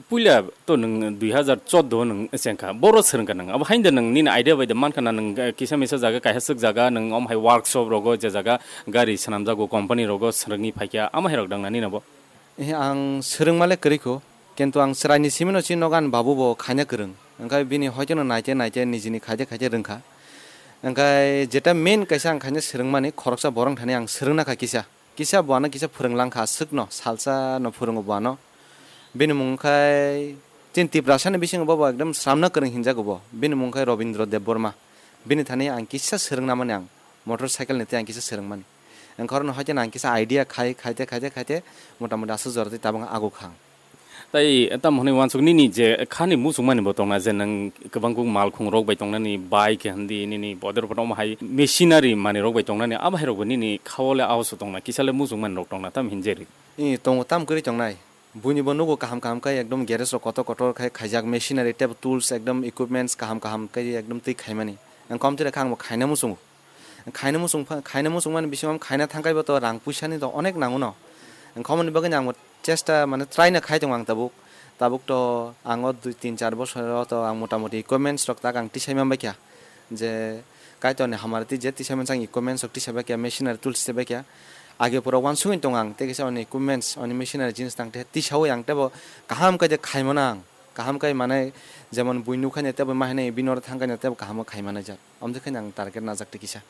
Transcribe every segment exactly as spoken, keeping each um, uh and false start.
Puila to nwng dui hazar chordo nwng chengkha, boro swrwngkha nwng. Abo haino nwng nini idea bai de mankha na nwng, eh, kisa misa jaga, kaisa swk jaga, nwng om hai workshop rogo je jaga gari swnamjago, company rogo swrwngwi phaikha, ama hai rok dang na nini abo? Eh, ang swrwngma le kwrwi kho, kintu ang chwraini simino chini nogo ani babu bo khaina kwrwng. Wngkha bini hoitono naite naite nijini khaite khaite rwngkha. Wngkha jeta main kaisa ang khaina swrwngmani khoroksa borok thani ang swrwngna kha kisa. Kisa bo ano kisa phwrwng langkha aswkno, salsa no phwrwngo bo ano. Bini mung khai chini Tiprasani bisingo bo bo ekdom sramna kwrwng hinjago bo. Bini mung khai Robindra Debbarma. Bini thani ang kisa swrwngna mani ang motor cycle ni tei ang kisa swrwngmani. Wngkha oro no haikhe ang kisa idea khai, khaite, khaite, khaite, mota moti aswk jora tei tabuk ago kha ang. Tai tamo hwnwi uansuk nini je khani muchungmani bo tongna je nwng kwbang kuk malkhung rok bai tongnani bike hindi nini bodor photo omo hai machinery manwi rok bai tongnani abo hai rok bo nini khao le aoso tongna kisa le muchungmani rok tongna tam hinjeri. I tongo tam kwrwi tongnai. Buini bo nugo kaham kaham khe ekdom garage rok kotor kotor khai khaijak machinery tei tools ekdom equipments kaham kaham khe ekdom twi khaimani. Ang kom twi kha ang bo khaina muchungo. Khaina muchung pha-, khaina muchung mani bisingo khaina thangkhai bo to rang puisa ni to onek nango no. Ang khomoni bagwi ang bo chesta mane try no khai tongo ang tabuk. Tabuk to ang o dui tin char bosor o to ang mota moti equipments rok tak ang tisai man baikha. Je Kaitor ni hamari twi je tisai man sang equipments rok tisai baikha, machinery tools tisai baikha. Age pura uansugwi tongo ang tei kisa oni equipments, oni machinery jinis tang tei tisaui ang tebo kaham khe je khai mano ang. Kaham khe mane jemon bui nukha ne tebo ma hinui bini oro thangkha ne tebo kaham khe khai mano jak. Amtwi khe ang target najak tei kisa.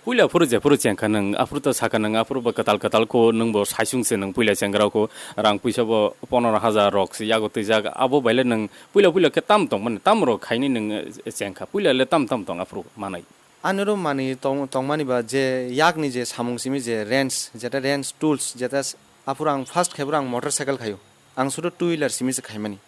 Puila phuru je phuru chengkha nwng, aphuru to sakha nwng, aphuru bo kwtal kwtal kho, nwng bo saisung se nwng puila chengrao kho, rang puisa bo ponoro hajar rok se yago twijak, abo baile nwng puila puila khe tam tong mani, tam rok khaini nwng, eh, chengkha, puila le tam tam tong aphuru manai. Ani oro mani tong-, tongmani ba je yakni je samung simi je wrench, jeta wrench tools, jeta s-, aphuru ang first khaiboro ang motor cycle khaio, ang sudu two wheeler simi se khaimani.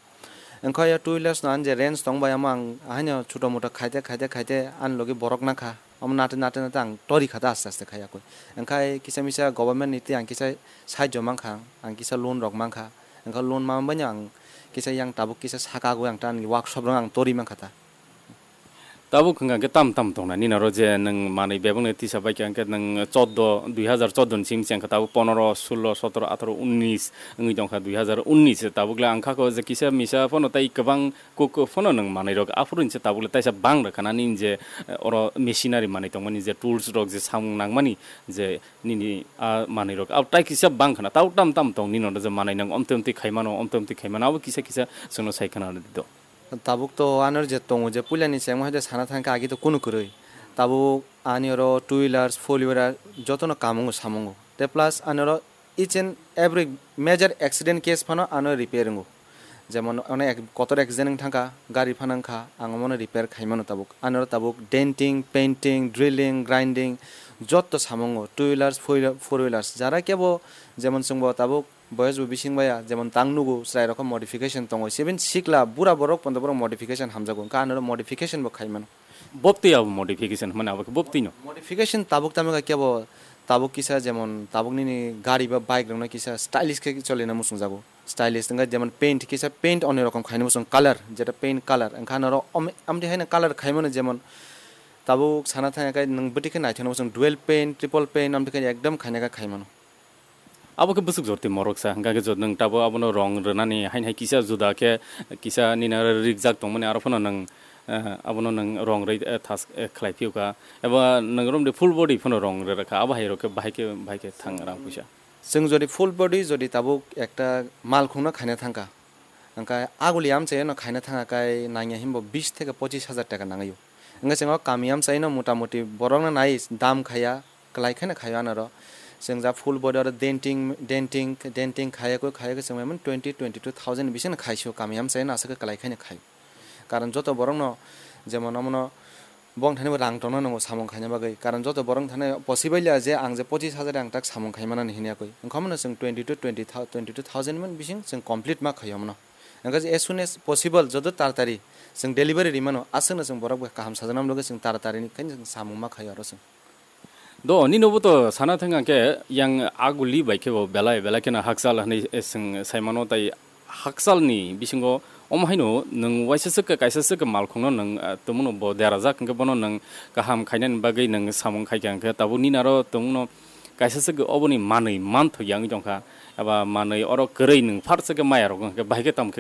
Wngkha o two wheelers no ang je range tong bai, omo ang ahaino chuto muto khaite, khaite, khaite ani logi borok nakha. Omo nate, nate, nate ang tori kha ta aste, aste khai akoi. Wngkha kisa misa government ni tei ang kisa sahajyo mankha, ang kisa loan rok mankha. Wngkha loan ma baino ang kisa yang tabuk kisa saka agoi ang ta ani workshop rok ang tori mankha ta. Tabuk hwnkha khe tam tam tongna nini oro je nwng manwi bebakno tisa bai kha, hwnkhe nwng chordo, dui hazar chordo ni simi chengkha, tabuk ponoro, sullo, sotoro, ataro, unnis wngwi tongkha, dui hazar unnis tabuk le ang kha kho je kisa misa phano tei kwbang kuk phano nwng manwi rok aphuru hinse tabuk le taisa bang rwkha na nini je, eh, oro machinery manwi tongmani je tools rok je samung nangmani je nini a manwi rok abo tai kisa bang khana tabuk tam tam tong nini oro je manwi nang omtwi omtwi khai mano, omtwi omtwi khai mano abo kisa kisa chwngno sai khana rwdi do. Tabuk to ano je tongo je puilani chengma hai de sana thangkhe agi to kunu kwrwi. Tabuk ani oro two wheelers, four wheeler jotono kamungo samungo. Te plus ani oro each and every major accident case phano ano repair wngo. Jemon ono ek-, kotor accident wng thangkha, gari phano wngkha, ang omono repair khai mano tabuk. Ani oro tabuk denting, painting, drilling, grinding joto samungo, two wheelers, four wheeler, four wheelers. Jara kebo jemon chwngbo tabuk boyos bo bising baya, jemon tang nugo, chwrai rok khe modification tongo. Even sikla, bura borok pondo borok modification hamjago. Wngkha ano modification bo khai mano. Bobtwi abo modification hwnmani abo khe bobtwi no. Modification tabuk tamo khe kebo, tabuk kisa jemon tabuk nini gari ba bike rok no kisa stylish khe cholina muchung jago. Stylish wngkha jemon paint kisa paint onoi rokom khaina muchung color, jeta paint color. Wngkha ano oro om-, amtwi haino color khai mano jemon tabuk sana thangya khe nwng bwtwi khe naithokna muchung dual paint, triple paint amtwi khe ekdom khaina khe khai mano. Abo khe bwswk jorti morok sa, hwnkha khe jot nwng tabuk abono rong rwnani haino hai kisa juda khe kisa nini oro rikjak tongmani aro phano nwng, eh, abono nwng rong rwi, eh, thas, eh, khlai phiyokha. Eba nwng romdi full body phano rong rwrwkha, abo hai rok khe bahai khe, bahai khe thang rang puisa. Chwng jodi full body jodi tabuk ekta malkhungno khaina thangkha, hwnkha aguli amchaino khaina thangkha khe nangya himbo bis theke pochis hajar taka nangwi o. Hwnkhe chwng o kami amchaino mota moti borokno nai dam khaya, kwlai kheno khaio anoro. Chwng ja full body oro denting, denting, denting khayakwi, khayakwi chwng maiman twenty, twenty two thousand bisingno khaisio kami amchaino aswk kwlai kheno khaio. Karon joto borokno jemon omono bong thani bo rang tongna nango samung khaina bagwi. Karon joto borok thani possible ya je ang je pochis hajar ang tak samung khai manani hinwi yakwi. Wngkha mano chwng twenty two, twenty thou-, twenty two thousand man bising chwng complete ma khaio mano. Wngkha je as soon as possible joto taratari chwng delivery ri mano, aswkno chwng borok bai kaham sajana bagwi chwng taratari ni khe chwng samung ma khaio aro chwng. Do, nini bo to sana thang ang khe, yang aguli bai khe bo belai, belai kheno hakchal hinwi, eh, chwng sai mano, tai hakchal ni bisingo omo haino nwng waisa swk khe, kaisa swk khe malkhungno nwng, ah, tongmano bo derajak, hwnkhe bono nwng kaham khainani bagwi nwng samung khai kha, hwnkhe tabuk nini aro tongmano kaisa swk khe oboni manwi manthok ya wngwi tongkha, eba manwi oro kwrwi nwng phar swk khe maya rok wngkha, bahai khe tamo khe